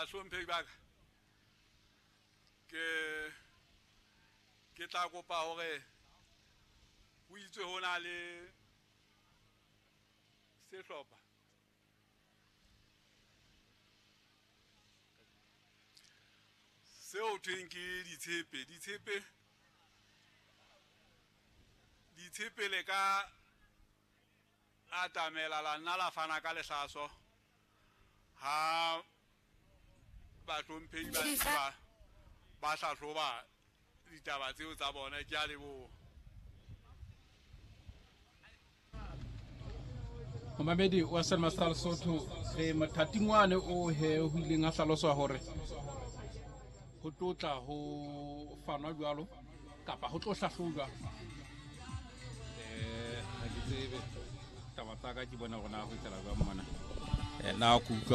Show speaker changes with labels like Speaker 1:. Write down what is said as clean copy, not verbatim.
Speaker 1: Bahlomphehi ba ka, ke ke tla kopa hore ho itswe ho na le sehlopha seo thweng ke ditshepe. Ditshepe, ditshepe le ka atamela la nna la fana ka lehlaso ha bahlomphehi ba ntse ba ba hlahloba ditaba tseo tsa bona. Ke a leboha.
Speaker 2: Momamedi wa Selma sa Lesotho, re mothating wane o he ho ileng a hlaloswa hore ho tlo tla ho fanwa jwalo kapa ho tlo hlahlojwa. Ha ke tsebe taba tsa ka, ke bona hore na ho etsahala jwang mona. Na ke utlwa.